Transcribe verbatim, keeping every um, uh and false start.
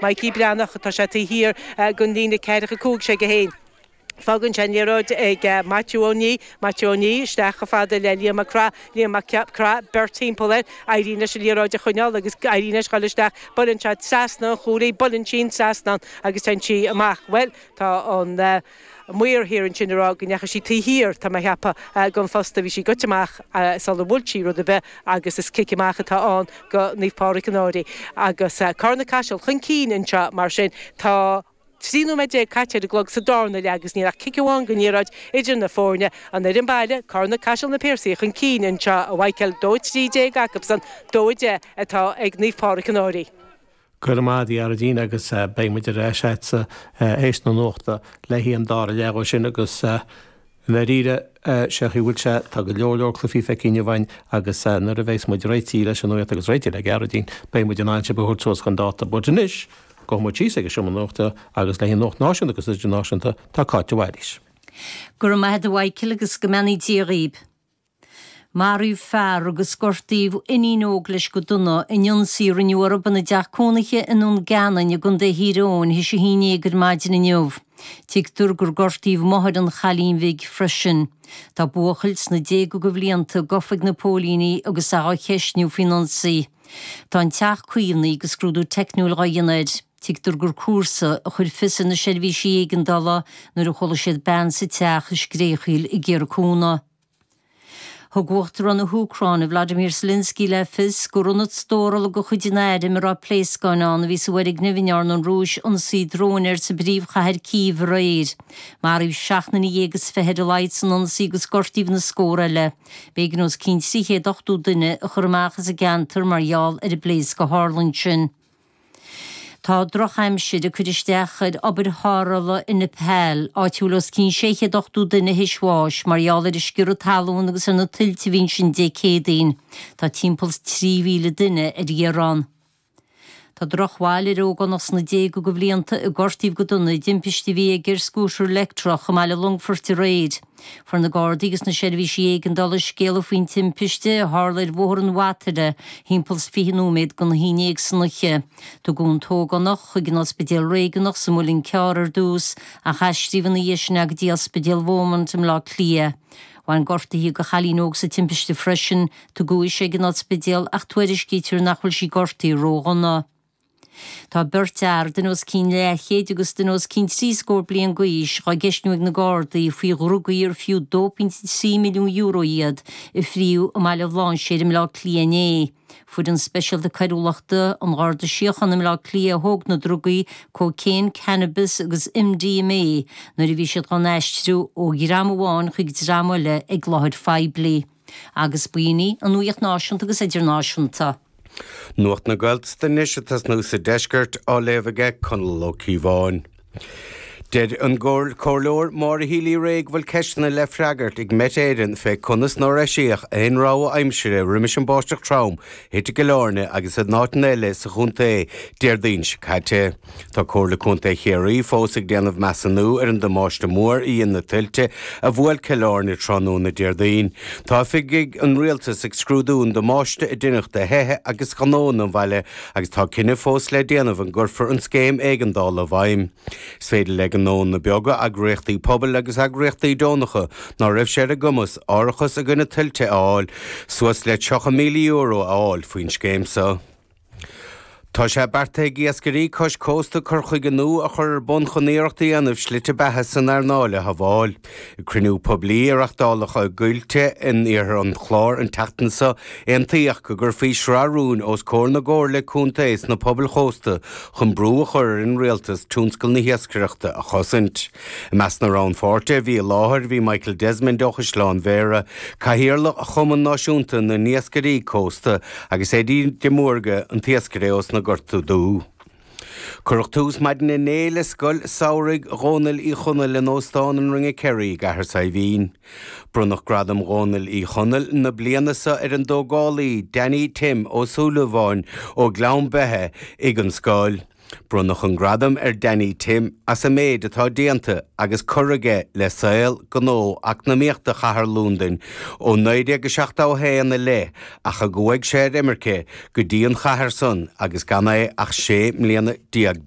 Mikey Breathnach atá sé taobh thiar den líne ceathracha cúig sé go haon. Fágann sé an liathróid ag Maitiú Ó Ní, Maitiú Ó Ní isteach chomh fada le Liam Mac Craith, Liam Mac Craith beirt timpeall air, éiríonn leis an liathróid a choinneáil agus éiríonn leis dhul isteach, buaileann sé trasna an chúil í, buaileann sí an trasnán agus téann sí amach. Bhuel, tá an maor thiar ansin ag rá go ndeachaigh sí taobh thiar, tá mé a cheapadh, den phosta, bhí sí goite amach sular bhuail sí rud ar bith agus is cic amach atá ann go Naomh Pádraig an Fhairche. Agus Carna-Caiseal chun cinn anseo mar sin. Tá trí nóiméad déag caite ar an gclog sa darna leath agus níl ach cic amháin den liathróid idir na foirne. An fhoireann baile, Carna Caiseal na Piarsaigh chun cinn anseo, a Mhichael, dó a trí déag acusan, dó a deich atá ag Naomh Pádraig an Fhairche. Go raibh maith agat a Ghearóidín agus beidh muid ar ais agatsa théis na nuachta le haghaidh an dara leath sin agus i ndáiríre sé chaoi bhfuil sé tá go leor leor cluichí feicthe inniu againn agus nuair a bheas muid réitithe leis an nuacht agus réitithe le Gearóidín beidh muid in ann sibh a thabhairt suas chun dáta. But anois gabhfaidh muid síos ag an seomra nuachta agus le haghaidh nuacht náisiúnta agus idirnáisiúnta tá Cáit de Bhailís. Go raibh maith agat a Mhichael agus go mbeannaí Dia dhaoib. Maraíodh fear agus gortaíodh iníon óg leis go dona in ionsaí a rinneadh orthu ina dteach cónaithe i nDún Geanainn i gContae Thír Eoghain théis a haon déag ar maidin inniu. Tuigtear gur gortaíodh máthair an chailín bhig freisin. Tá buachaill sna déaga de bhlianta gafa ag na póilíní agus é á cheistniú faoin ionsaí. Tá an teach caomhnaithe agus scrúdú teicniúil á dhéanamh air. Tuigtear gur comharsa a chuir fios ar na seirbhísí éigeandála nuair a chuala siad bean sa teach ag scréachaíl ag iarraidh cúnamh. Thug Uachtarán na hÚcráine Vladimir Zelensky le fios gur ionad stórála de chuid an airm a raibh pléascáin ann a bhí sa bhfoirgneamh a ndearna an Rúis ionsaí dróin air sa bpríomhchathair Cív aréir. Maraíodh seacht nduine dhéag is fiche ar a laghad san ionsaí agus gortaíodh na scór eile. B'éigean os cionn trí chéad ochtó duine a chur amach as an gceantar mar gheall ar an bpléasc a tharla ansin. Tá drochaimsir ag cur isteach ar obair tharrthála i Nepal, áit a bhfuil os cionn sé chéad ochtó duine théis bháis mar gheall ar an sciorradh talún agus ar na tuilte a bhí ansin Dé Céadaoin. Tá timpeall trí mhíle duine ar iarraidh ann. Tá drochbhail ar ógánach sna déaga de bhlianta a gortaíodh go dona i dtimpiste a bhí aige ar scútar leictreach i mbaile Longfoirt aréir. Fuair na Gardaí agus na seirbhísí éigeandála scéala faoin timpiste a tharla ar Bhóthar an Bhataire thimpeall fiche nóiméad don haon déag san oíche. Tugadh an t-ógánach chuig an ospidéal réigiúnach sa Mhuileann Cearr ar dtús ach aistríodh ina dhiaidh sin é go dtí ospidéal Beaumont i mBleá Cliath. Bhain gortuithe do chailín óg sa timpiste freisin, tugadh ise ag an ospidéal ach tuairiscítear nach bhfuil sí gortaithe ródhona. Tá beirt fhear, duine os cionn leathchéid agus duine os cionn trí scór bliain d'aois, á gceistniú ag na Gardaí faoi dhrugaí ar fiú dó pointe trí milliún euro iad a fríodh i mBaile Bhlainséir i mBleá Cliath inné. Foireann Speisialta Coiriúlachta an Gharda Síochána i mBleá Cliath a thóg na drugaí, cócaon, cannabis agus MDMA, nuair a bhí siad á n-aistriú ó dhream amháin chuig dream eile ag láthair phoiblí. Agus b'in í an nuacht náisiúnta agus idirnáisiúnta. Nuacht na Gaeltachta anois ag tosnú sa deisceart á léamh aige Conall Ó Cíobháin. Deir an Comhairleoir Maura Healy-Rae go bhfuil ceisteanna le freagairt ag Met Éireann fé conas nár eisíodh aon rabhadh aimsire roimis an báisteach trom a thit i gCill Airne agus in áiteanna eile sa chontae Déardaoin seo caite. Tá Comhairle Contae Chiarraí fós ag déanamh measúnú ar an damáiste mór a dhein na tuilte a bhuail Cill Airne tráthnóna Déardaoin. Tá oifigigh an rialtais ag scrúdú an damáiste a deineadh do thithe agus gnóanna an bhaile agus tá cinneadh fós le déanamh an gcuirfear an scéim éigeandála i bhfeidhm. Is féidir le gnóanna beaga, eagraíochtaí pobail agus eagraíochtaí deonacha ná raibh sé ar a gcumas árachas i gcoinne tuilte a fháil, suas le tríocha míle euro a fháil faoin scéim seo. Tá sé beartaithe ag iascairí cois cósta cur chuige nua a chur ar bun chun iarracht a dhéanamh slite beatha san earnáil a shábháil. Ag cruinniú poiblí a reáchtáladh i gCoillte in iarthar an Chláir an tseachtain seo, aontaíodh go gcuirfí sraith rúin os comhair na gcomhairle contae sna pobail chósta chun brú a chur ar an rialtas tionscal na hiascaireachta a chosaint. I measc na rannpháirtithe a bhí i láthair bhí Michael Desmond ó Chaisleán Bhéarra, Cathaoirleach Chumann Náisiúnta na nIascairí Cósta, agus Eddie de Mórdha, an t-iascaire ós na Gorta Dubha. Cuireadh tús maidin inné le Scoil Samhraidh Dhónaill Uí Chonaill in Óstán an Ringa Kerry i gCathair Saidhbhín. Bronnadh Gradam Dhónaill Uí Chonaill na bliana seo ar an dtógálaí Danny Tim Ó Súilleabháin ó Ghleann Beithe ag an scoil. Bronnadh an gradam ar Danny Tim as an méid atá déanta agus curtha aige le saol gnó eacnamaíochta chathair Londain ó naoi déag seachtó a haon i leith ach a gcuaigh sé ar imirce go dtí an chathair san agus gan é ach sé mbliana déag d'aois.